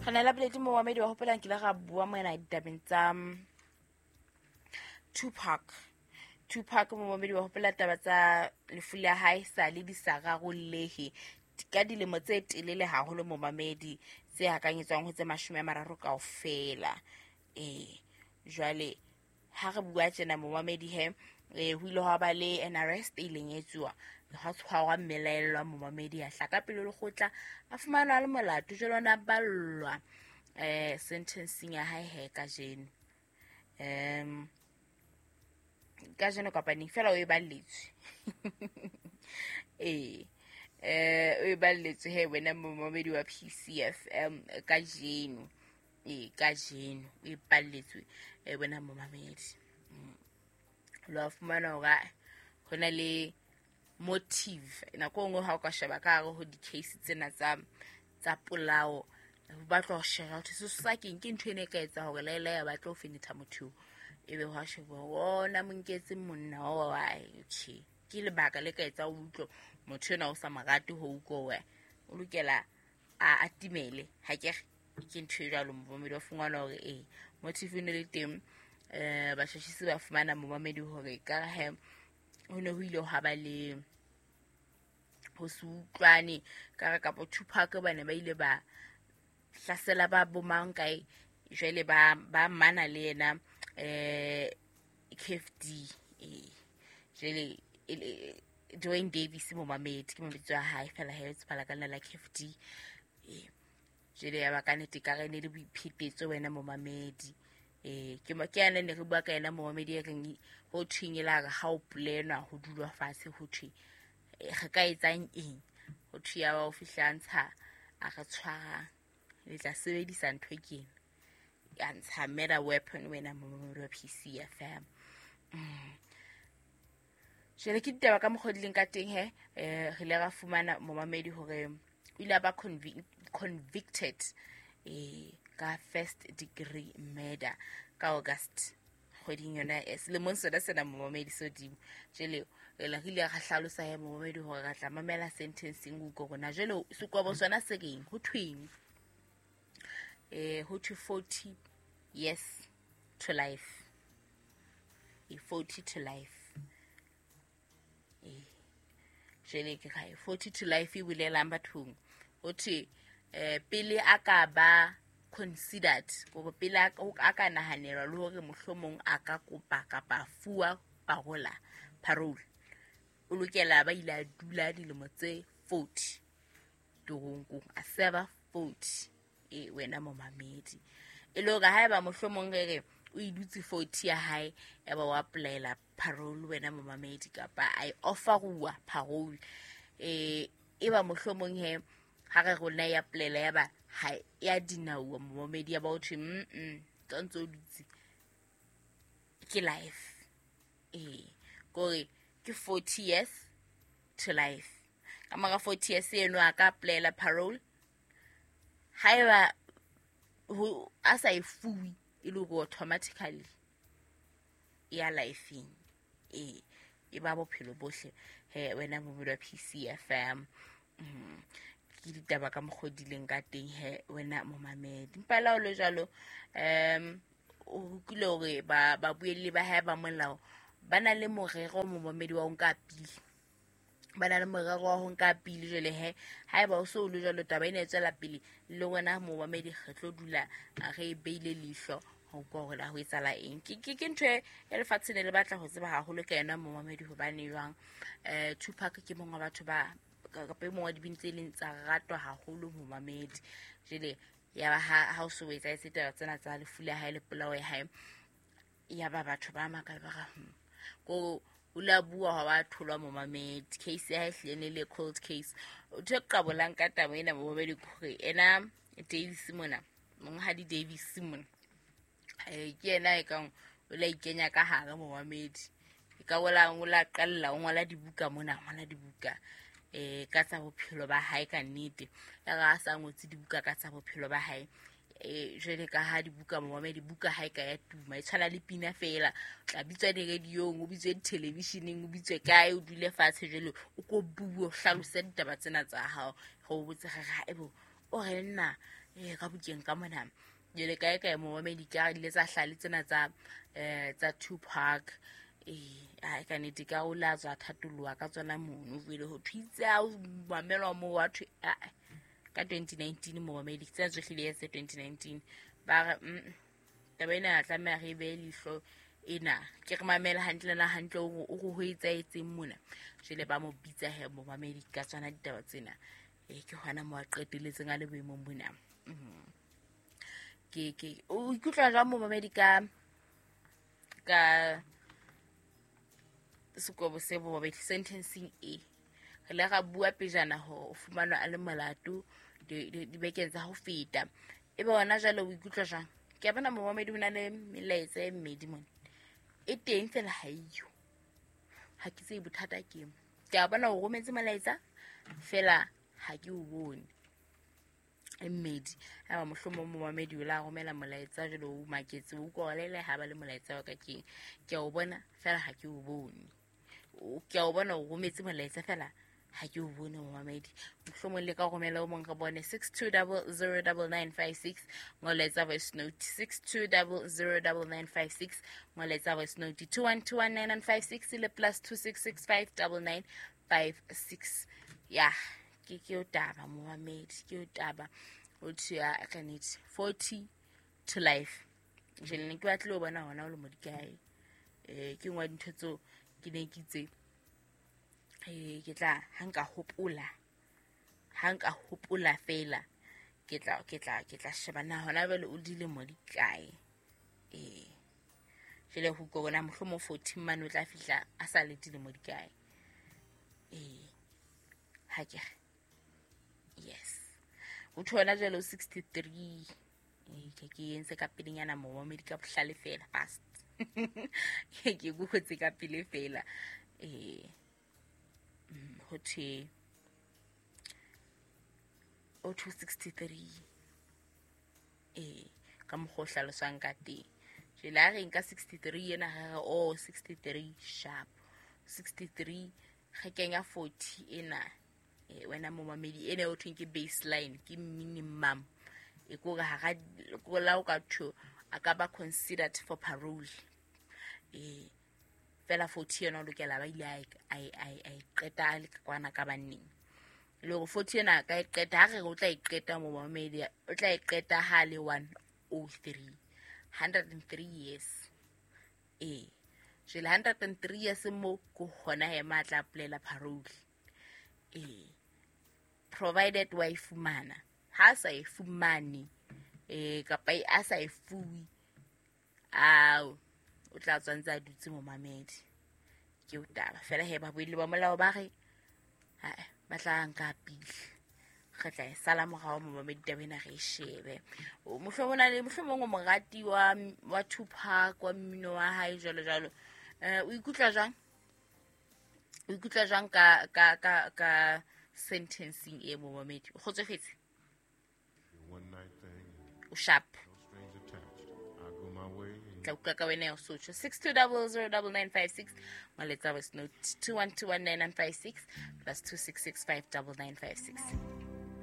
Re na la boledi momamedi wa hopolang ke ile ra bua mona ditabeng tsa Tupac. Tupac momamedi wa hopola taba tsa lefu la hae sa le di sa rarollehe ka dilemo tse telele haholo momamedi, tse hakanyetswang ho tse 30 kaofela. Ee, jwale ha re bua tjena momamedi he, ho ile hwa ba le an arrest e ileng ya etsuwa, ha tshwarwa mmelaellwa momamedi, a hla ka pele lekgotla, a fumanwa le molato. Jwale ona ballwa sentencing ya hae he kajeno, kajeno kapa neng fela o e balletswe. Ee, o e balletswe he wena momamedi wa PCFM kajeno. Ee, kajeno o e balletswe wena momamedi. Lo a fumana hore ho na le motive. Nako e nngwe ha o ka sheba ka hare ho di-case tsena tsa polao, ho batlwa ho sheba hore sesosa keng, ke ntho ene e ka etsa hore laela ya batla ho fenetha motho eo, ebe hwa sheba hore ona mo nketse monna wa hae. Okay, ke lebaka le ka etsa o utlwe motho enwa o sa mo rate ho utlwa o lokela a atimele. Ha ke re ke ntho e jwalo momamedi, wa fumana hore ee motive e ne le teng. Batjhatjhisi ba fumana momamedi hore ka he ho ne ho ile hwa ba le ho se utlwane ka re kapa Tupac ba ne ba ile ba hlasela ba bomang kae, jwale ba mana le yena KFD. Jwale Dwayne Davis momamedi ke mabitso a hae fela he tsebala ka la KFD. Jwale ya ba ka nnete ka re ne le boiphetetso wena momamedi. Ke ke yana ne re bua ka yena momamedi e reng ho thweng e la re ha o polenwa ho dulwa fatshe, ho thwe re ka etsang eng, ho thwe ya ba o fihla ntsha a re tshwarang le tla sebedisa ntho ke ena ya ntsha murder weapon wena momamedi wa PCFM. Jwale ke ditaba ka mokgwa di leng ka teng he. Re ile ra fumana momamedi hore o ile a ba convicted ka first degree murder ka August kgweding yona selemong sona sena momamedi sodimo. Jwale re ile ra hlalosa he momamedi hore re tla mamela sentencing o utlwe rona jwale sekwabo sona se reng, ho thweng. Ho thwe 40 years to life. 40 to life. Jwale ke kae 40 to life e bolelang bathong? Ho thwe pele a ka ba considered, hore pele a ka nahanelwa le hore mohlomong a ka kopa kapa fuwa parole, o lokela ba ile a dula dilemo tse 40 toronkong, a serve 40. Wena momamedi, e le hore haeba mohlomong re re o e dutse 40 ya hae, ya ba wa applyela parole wena momamedi, kapa a e offeruwa parole, e ba mohlomong he ha re rona ya applyela ya ba ha ya dinauwa momamedi, ya ba o thwe tsa ntse o dutse ke life. Kore ke 40 years to life. Ka mora 40 years eno a ka applyela parole, haeba ho a sa e fuwe e le hore automatically ya lifeng, e ba bophelo bohle he wena momamedi wa PCFM. Ke ditaba ka mokgwa di leng ka teng he wena momamedi. Empa le ha o le jwalo, o utlwile hore babuelli ba hae ba molao ba na le morero momamedi wa ho nka pili, ba na le morero wa ho nka pili. Jwale he haeba o so o le jwalo, taba ena e tswela pele le wena momamedi, re tlo dula re e beile leihlo ho utlwa hore na ho etsahala eng. Ke ntho e lefatshe ne le batla ho tseba haholo ka yona momamedi, hobane jwang Tupac ke mongwe wa batho ba kapa e mongwe wa dibini tse leng tsa ratwa haholo momamedi. Jwale ya ba ha o so o etsahetse taba tsena tsa lefu la hae le polao ya hae, ya ba batho ba makala ba re ko o la bua ha wa tholwa momamedi. Case ya hae hlile ne le cold case. Ntho e qabolang ka taba ena momamedi ke hore ena Davis mona, monghadi Davis mona, ke yena e kang o la ikenya ka hare momamedi, e ka bola o la qalla o ngola dibuka mona, ngola dibuka ka tsa bophelo ba hae ka nnete. Ya re a sa ngotse dibuka ka tsa bophelo ba hae, jwale ka ha dibuka momamedi, buka ha e ka ya tuma e tshwana le pina fela, o tla bitswa di-radiong, o bitswe di-televisioneng, o bitswe kae, o dule fatshe jwale o ko bue o hlalose ditaba tsena tsa hao. Re o botse re re haebo O re nna ka bukeng ka mona jele kae kae momamedi ka ile tsa hlale tsena tsa tsa Tupac ai ka nnete ka o la tswa thatoloha ka tsona mono jwale ho thwitse a o mamelwa mo wa thwe ka 2019 momamedi tsena tsohle di etse 2019 ba re taba ena ya tlameha re behe leihlo ena ke re mamela hantle na hantle o re ho etsaetseng mona jwale ba mo bitsa he momamedi ka tsona ditaba tsena ke hona mo a qeteletseng a le boemong bona. Ke o ikutlwa jwang momamedi ka sekobo se momamedi sentencing e re le ra bua pejana hore o fumanwa a le molato dibekeng tsa ho feta e be hona jwale o ikutlwa jwang? Ke a bona momamedi ho na le melaetsa e mmedi mona e teng fela ha eyo, ha ke tsebe bothata ke ke a bona o rometse molaetsa fela ha ke o bone e mmedi. Aba mohlomong momamedi o la romela molaetsa jwale o maketse o utlwa le ha ba le molaetsa wa ka keng ke a o bona fela ha ke o bone, ke a o bona o rometse molaetsa fela ha ke o bone momamedi. Mohlomong le ka romela o mong re bone 62009956 molaetsa voice note 62009956 molaetsa voice note 21219956 le plus 26659956. Ya ke o taba momamedi, ke o taba o thea ka nnete 40 to life. Jwale ne ke batle ho bona hona o le modikae ke nngwe ya dintho tseo ke ne ke itse ke tla ha nka hopola fela ke tla sheba na hona jwale o dilemo di kae. Jwale ho utlwa bona mohlomong 40 mane o tla fihla a sa le dilemo di kae. Ha ke yes o thola jwale o 63 ke entse ka pelenyana momamedi ka bohlale fela fast ke google ka pele fela ho thwe o 263 ka mokgwa o hlaloswang ka teng. Jwale ha re nka 63 ena re re oh 63 sharp 63 re kenya 40 ena wena momamedi ena o thweng ke baseline ke minimum e kore ha la o ka thwe a ka ba considered for parole fela 40 ena o lokela ba ile a e qeta a le kwana ka banneng le hore 40 ena ka e qeta ha re o tla e qeta momamedi o tla e qeta ha le 103 103 years jwale 103 years mo ko hona he matla polela parole provided wa e fumana ha sa e fumane kapa a sa e fuwe ao o tla tswa ntse a dutse momamedi ke o taba fela he ba buile ba molao ba re ba tla nka pele re tla e sala morao momamedi taba ena re e shebe. Mohlomong o morati wa Tupac wa mmino wa hae jwalo jwalo. O ikutlwa jwang? O ikutlwa jwang ka sentencing e momamedi? O kgotsofetse? O sharp. Tla utlwa ka wena ya Sotho 62009956 maletsa voice note 21219956 plus 26659956.